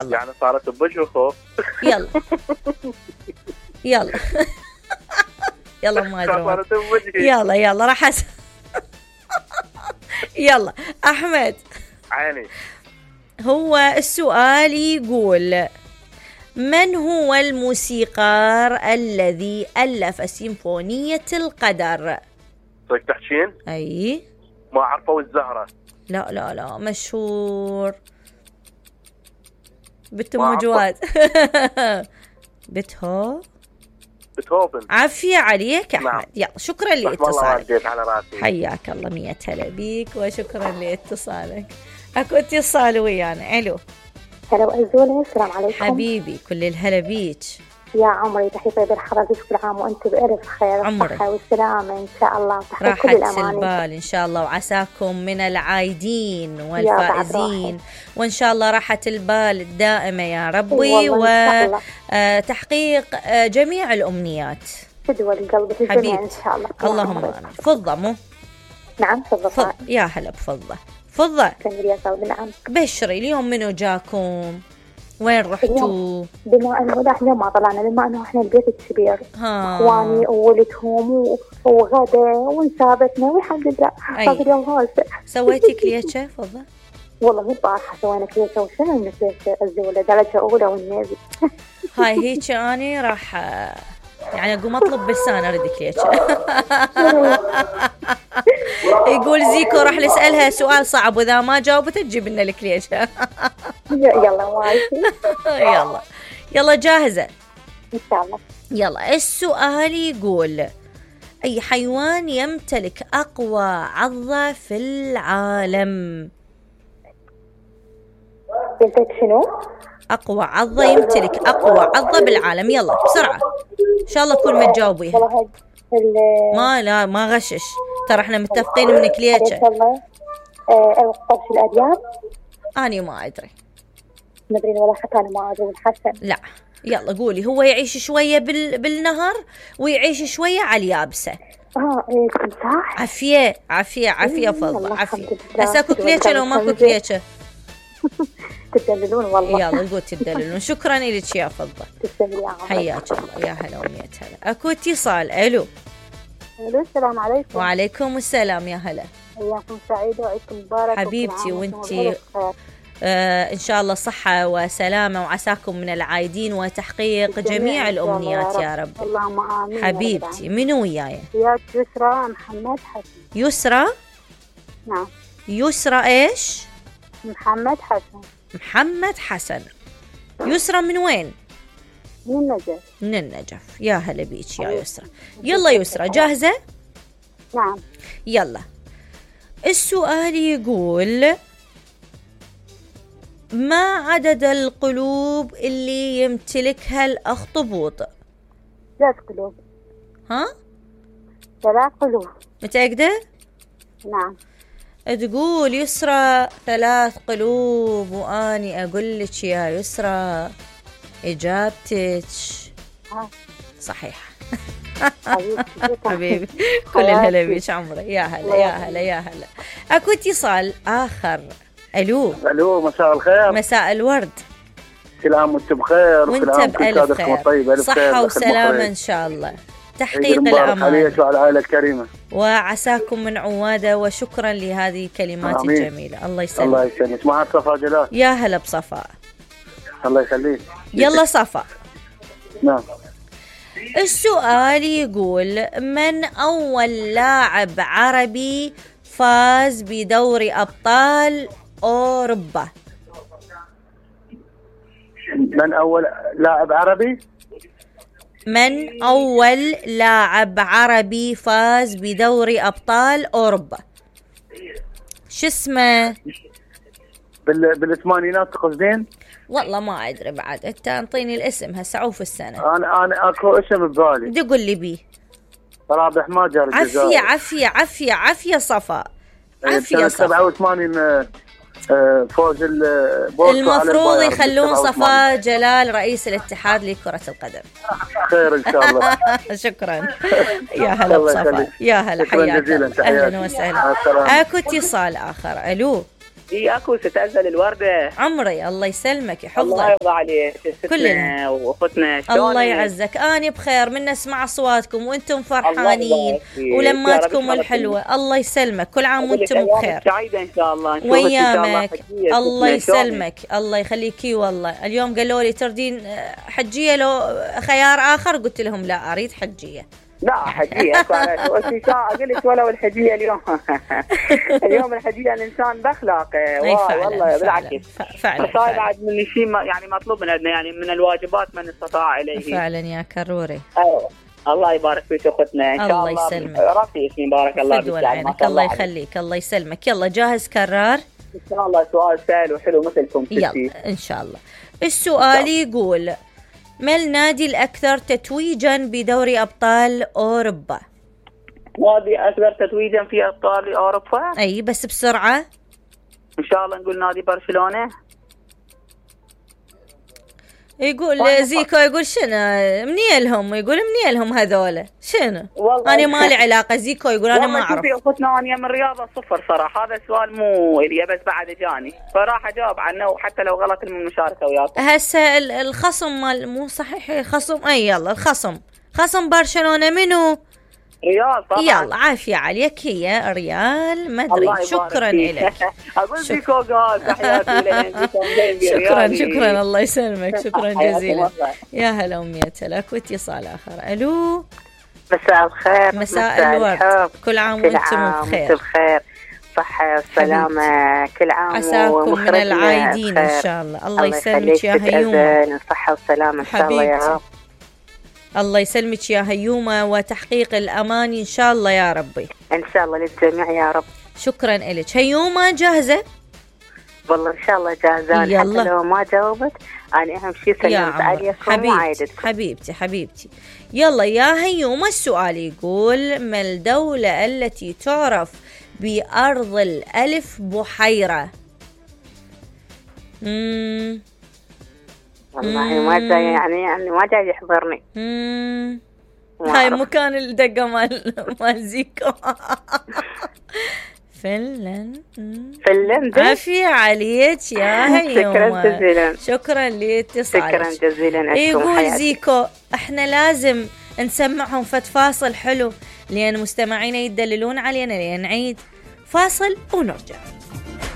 يعني صارت بوجه خوف. يلا يلا يلا ما ادري. يلا راح يلا احمد عيني. هو السؤال يقول: من هو الموسيقار الذي ألف سيمفونية القدر؟ صدق تحكين؟ أي ما عرفوا الزهرة. لا مشهور. جواد. بيتهوفن. عافية عليك أحمد. نعم. يلا شكرا لاتصالك. حياك الله، 100 هلا بيك وشكرا لاتصالك. اكو اتصال ويانا. الو. هلا وأزولة. السلام عليكم حبيبي، كل الهلا بيك يا عمري. تحية طيبة لحضرتك، كل عام وأنت بألف خير والصحة والسلامة إن شاء الله، وتحية كل الأمان. راحة البال إن شاء الله، وعساكم من العايدين والفائزين، وإن شاء الله راحة البال الدائمة يا ربي، وتحقيق جميع الأمنيات. تدوى القلب الجميع إن شاء الله. اللهم آمين. فضة مو؟ نعم فضة. يا هلا بفضة. فضة. نعم. بشري، اليوم منو جاكم؟ وين رحتوا؟ بما انه احنا ما طلعنا، بما انه احنا البيت الكبير، اخواني وولدهم وغدا ونسابتنا والحمد لله. سويتي كليتشه فضة؟ والله مو طاحة، سوينا كليتشه. وشنو من كليتشه الزولة درجة أولى والنبي. هاي هيك أنا راح يعني أقوم أطلب بلسان أريد كليتشه. يقول زيكو راح نسألها سؤال صعب، وإذا ما جاوبت تجيب لنا الكليشة. يلا ماشي. يلا جاهزة إن شاء الله. يلا السؤال يقول: أي حيوان يمتلك أقوى عضة في العالم؟ شنو؟ أقوى عضة، يمتلك أقوى عضة بالعالم. يلا بسرعة إن شاء الله كل ما تجاوبيها. ما غشش، ترى احنا متفقين من كليتشه. القرش الأديان. أنا ما أدري. مدري ولا حتى أنا ما أدري. والحسن. لا يلا قولي. هو يعيش شوية بالنهر ويعيش شوية على اليابسة. تمساح. عافية فضل عافية. هسه اكو كليتشه لو ماكو كليتشه؟ تدللون والله. يلا قول تدللون. شكرا لك يا فضة. تسلمي يا عمر. حياك الله. يا هلا ومية هلا. اكو اتصال. الو. السلام عليكم. وعليكم السلام. يا هلا. اياكم سعيدة وعيدكم مبارك حبيبتي. وانتي إن شاء الله صحة وسلامة، وعساكم من العايدين وتحقيق جميع الأمنيات يا رب. اللهم آمين حبيبتي. منو وياي؟ وياك يسرى محمد حسن. يسرى؟ نعم. يسرى إيش؟ محمد حسن. يسرى من وين؟ من النجف. يا هلا بيك يا يسرى. يلا يسرى جاهزة؟ نعم. يلا السؤال يقول: ما عدد القلوب اللي يمتلكها الأخطبوط؟ 3 قلوب. 3 قلوب. متأكدة؟ نعم. تقول يسرى 3 قلوب، وأني أقول لك يا يسرى إجابتك صحيحة. حبيبي كل الهلا بيك عمري. يا هلا. أكو اتصال آخر. الو. مساء الخير. مساء الورد. كل عام وانت بخير. وانت بألف خير. صحة وسلامة ان شاء الله. تحقيق الأمان عليك وعلى العائلة الكريمة، وعساكم من عوادة. وشكرا لهذه الكلمات الجميلة. الله يسلمك. الله يسلمك. معك صفاء جلال. يا هلا بصفاء. الله يخليك. يلا صفاء. نعم. السؤال يقول: من أول لاعب عربي فاز بدوري أبطال أوروبا؟ من أول لاعب عربي؟ من أول لاعب عربي فاز بدوري أبطال أوروبا؟ شو اسمه؟ بالثمانينات تقصدين؟ والله ما أدري بعد. أنت أنطيني الاسم هسه عوف السنة. أنا أكو اسم ببالي. تقول لي بيه. رابح ماجر الجزائر. عافية صفاء. عافية صفاء. 87 فوز المفروض يخلون صفاء جلال رئيس الاتحاد لكرة القدم. خير إن شاء الله. شكرا. يا هلا بصفاء. يا هلا. حياك. أهلا وسهلا. أكو اتصال آخر. ألو. اكو تتأذل الوردة. عمري الله يسلمك يحفظك. الله يرضى عليك. كلنا واختنا الله يعزك. أنا بخير من نسمع أصواتكم وأنتم فرحانين ولماتكم الحلوة. الله يسلمك. كل عام وأنتم بخير. سعيدة إن شاء الله. ويامك. الله يسلمك. الله يخليكي. والله اليوم قالوا لي تردين حجية لو خيار آخر، قلت لهم لا أريد حجية. لا حجية أقول لك ولو الحجية اليوم اليوم الحجية الإنسان بأخلاقه. والله بالعكس فعلا بعد من شيء يعني مطلوب من عندنا، يعني من الواجبات من استطاع إليه. فعلا يا كروري. الله يبارك فيك أختنا إن شاء الله. الله يسلمك. راسي اسمي بارك الله فيك. الله يخليك. الله يسلمك. يلا جاهز كرار؟ إن شاء الله سؤال سهل وحلو مثلكم. يلا إن شاء الله. السؤال يقول: ما النادي الأكثر تتويجاً بدوري أبطال أوروبا؟ نادي أكثر تتويجاً في أبطال أوروبا؟ أي بس بسرعة. إن شاء الله نقول نادي برشلونة. يقول زيكو يقول شنو منيلهم، يقول منيلهم هذولا شنو؟ أنا ما لي علاقة. زيكو يقول أنا ما أعرف. والله أختنا أنا من الرياضة صفر صراحة. هذا السؤال مو إلي بس بعد جاني فراح أجاوب عنه وحتى لو غلط من المشاركة وياكم. هسه الخصم مال مو صحيح خصم. أي يلا خصم برشلونة منو؟ ريال طبعا. يلا عافية عليك. هي ريال مدريد. شكرا لك. أقول زيكو قال تحياتي لك. شكرا الله يسلمك. شكرا جزيلا. يا هلا ومية هلا. واتصال آخر. ألو. مساء الخير. مساء الورد. كل عام وانتم بخير. صحة والسلامة. كل عام عساكم من العايدين إن شاء الله. الله يسلمك يا هيومة. صحة والسلامة إن شاء الله يا رب. الله يسلمك يا هيومة وتحقيق الأمان إن شاء الله يا ربي. إن شاء الله للجميع يا رب. شكرا لك. هيومة جاهزة؟ والله إن شاء الله جاهزة. حتى لو ما جاوبت أنا أهم شيء سلمت عليكم وعايدتكم. حبيبتي. يلا يا هيومة السؤال يقول: ما الدولة التي تعرف بأرض الألف بحيرة؟ والله ما جاي يعني ما جاي يحضرني. هاي مكان الدقة مال زيكو. فنلند. عافية عليك يا هيومة. شكرا جزيلا. شكرا لاتصالك. شكرا جزيلا. يقول زيكو احنا لازم نسمعهم فاصل حلو لأن مستمعينا يدللون علينا لأن نعيد فاصل ونرجع.